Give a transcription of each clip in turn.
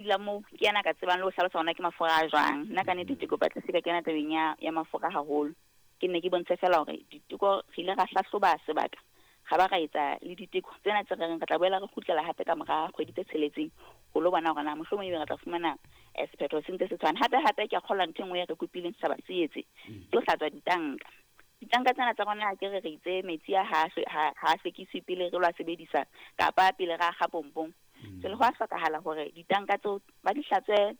Dula moo, ke yena a ka tsebang le ho hlalosa hore na ke mafura a jwang. Nna ka nnete ke kopa tle se ka kena tabeng ya mafura haholo. Ke nne ke bontshe feela hore diteko re ile ra hlahloba sebaka, ra ba ra etsa le diteko tsena tse re reng re tla boela re kgutlela hape ka mora kgwedi tse tsheletseng ho lo bona hore na mohlomong ebe re tla fumana sephetho se ntse se tshwana. Hape hape ke a kgolwa ntho e nngwe e re kopileng setjhaba se etse ke ho hlatswa ditanka. Ditanka tsena tsa rona ke re re itse metsi a ha ha hlwekiswe pele re lo a sebedisa kapa pele re a kga pompong. Jwale ho a hlokahala hore ditanka tseo ba di hlatswe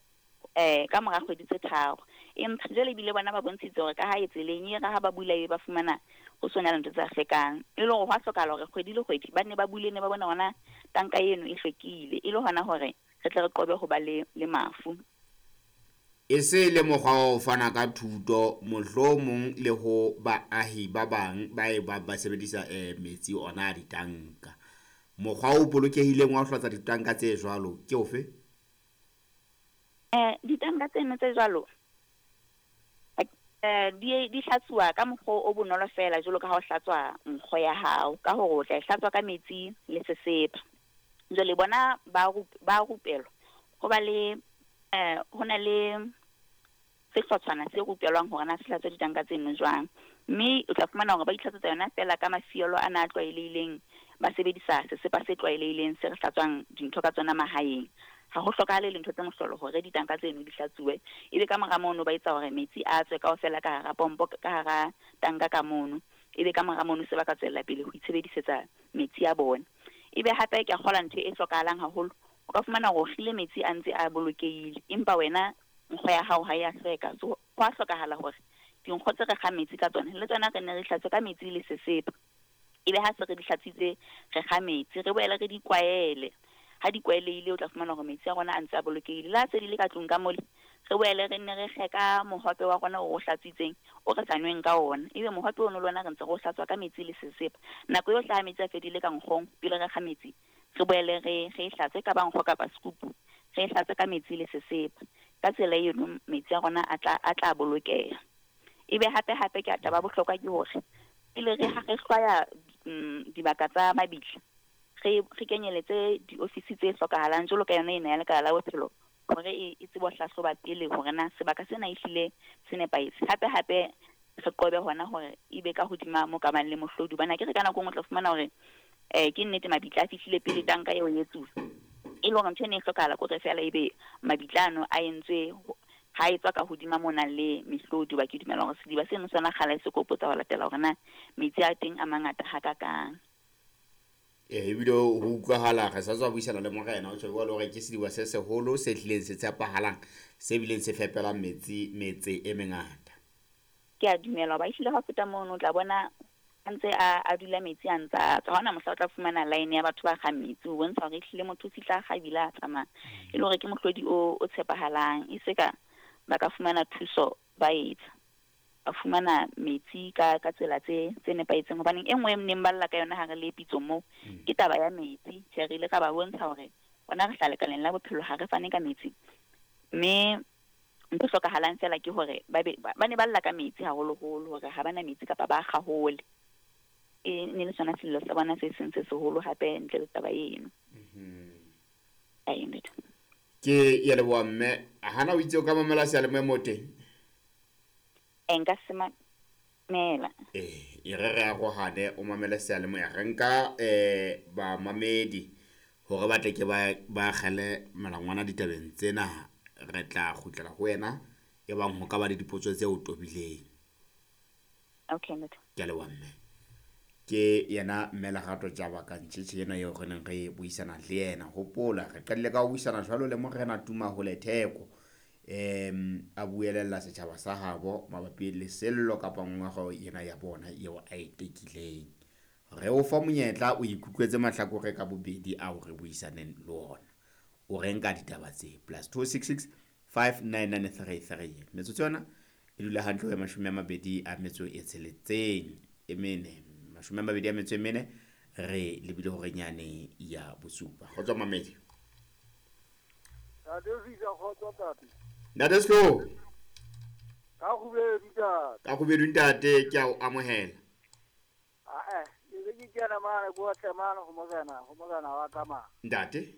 ka mora kgwedi tse tharo. Empa jwale ebile bona ba bontshitse hore ka ha e tseleng e re ha ba bula ebe ba fumana ho sona le ntho tse sa hlwekang. E le hore ho a hlokahala hore kgwedi le kgwedi ba nne ba bule ne ba bone hore na tanka eno e hlwekile, e le hona hore re tle re qobe ho ba le mafu. E se le mokgwa wa ho fana ka thuto mohlomong le ho baahi ba bang ba e bang ba sebedisa metsi ona a ditanka. Mokgwa o bolokehileng wa ho hlatswa ditanka tse jwalo ke ofe? Ditanka tseno tse jwalo di hlatsuwa ka mokgwa o bonolo fela jwalo ka ha o hlatswa nkgo ya hao, ka hore o tla e hlatswa ka metsi le sesepa. Jwale bona ba rupelwa ho ba le ho na le sehlotshwana se rupelwang hore na se hlatswa ditanka tseno jwang. Mme o tla fumana hore ba itlhatswetsa yona fela ka mafielo ana a tlwaelehileng, ba sebedisa sesepa se tlwaelehileng se re hlatswang dintho ka tsona mahaeng. Ha ho hlokahale le ntho tse mohlolo hore ditanka tseno di hlatsuwe, ebe ka mora mono ba etsa hore metsi a tswe kaofela ka hara pompo, ka hara tanka ka mono, ebe ka mora mono se ba ka tswella pele ho itshebedisetsa metsi a bona. Ebe hape ke a kgolwa ntho e hlokahalang haholo, o ka fumana hore o kgile metsi a ntse a bolokehile, empa wena nkgo ya hao ha ya hlweka. So ho a hlokahala hore dinkgo tse re kgang metsi ka tsona le tsona re nne re hlatswe ka metsi le sesepa. Ebe ha se re di hlatswitse re kga metsi, re boele re di kwaele. Ha di kwaelehile o tla fumana hore metsi a rona a ntse a bolokehile. Le ha se di le ka tlung ka mole, re boele re nne re kge ka mohope wa rona o hlatswitseng o re sa nweng ka ona. Ebe mohope ono le ona re ntse re o hlatswa ka metsi le sesepa. Nako yohle ha metsi a fedile ka nkgong pele re kga metsi, re boele re e hlatswe ka ba nkgo kapa sekupu, re e hlatswe ka metsi le sesepa. Ka tsela eno metsi a rona a tla bolokeha. Ebe hape hape ke taba bohlokwa ke hore pele re ha re hlwaya dibaka tsa mabitla, re kenyeletse diofisi tse hlokahalang jwalo ka yona ena ya Lekala la Bophelo hore e tsebe ho hlahloba pele hore na sebaka sena ehlile se nepahetse. Hape hape re qobe hona hore ebe ka hodima mo ka bang le mohlodi, hobane akere ka nako e nngwe o tla fumana hore ke nnete mabitla a fihlile pele tanka eo e etsuwa, e le hore ntho e ne e hlokahala ke hore feela ebe mabitla ano a entswe ha etswa ka hodima mo nang le mehlodi, hoba ke dumela hore sediba seno sona kgale se kopotsa ho latela hore na metsi a teng a mangata hakakang. Ebile ho utlwahala re sa tswa buisana le morena, o tjho jwalo hore ke sediba se seholo se hlileng se tshepahalang, se bileng se fepelang metsi metse e mengata. Ke a dumela hoba ehlile ha o feta mono o tla bona a ntse a dula metsi a ntse a tswa. Ha hona mohla o tla fumana line ya batho ba kgang metsi, ho bontsha hore ehlile motho o fihla a kga ebile a tsamaya, e le hore ke mohlodi o tshepahalang. E se ka ba ka fumana thuso ba etsa, ba fumana metsi ka tsela tse nepahetseng. Hobaneng e nngwe e neng ba lla ka yona ha re le pitsong moo ke taba ya metsi. Tjhe, re ile ra ba bontsha hore rona re hlaha lekaleng la bophelo, ha re fane ka metsi, mme ntho e hlokahalang feela ke hore ba ne ba lla ka metsi haholoholo, hore ha bana metsi kapa ba kga hole. E ne le sona sello sa bona se seng se seholo hape ntle le taba eno. Ke ya leboha mme. Hana o itse o ka mamela seyalemoya mo teng? Nka se mamela. E re arohane o mamele seyalemoya. Re nka bamamedi hore ba tle ke ba kgele melangwana ditabeng tsena. Re tla kgutlela ho wena e bang ho ka ba le dipotso tse o tobileng. Okay, motho. Ke a leboha mme. Ke yena mme Lerato Jabaka Ntjhetjhe ena eo re neng re buisana le yena. Hopola re qadile ka ho buisana jwalo le morena Tumahole Theko, a buelella setjhaba sa habo mabapi le sello kapa ngongorego ena ya bona eo a e tekileng. Re o fa monyetla o ikutlwetse mahlakore ka bobedi ao re buisaneng le ona. O re nka ditaba tse +266 59933. Metsotso yona e dula hantle ho 26 e mene, 24 re lebile hore nyane ya bosupa. Kgotso mamedi. Ntate Fisa, kgotso ntate. Ntate Slo. Ka kgubedu ntate. Ka kgubedu ntate, ke a o amohela. Ke be ke kena mane ko tle mane ho morena wa ka mane. Ntate.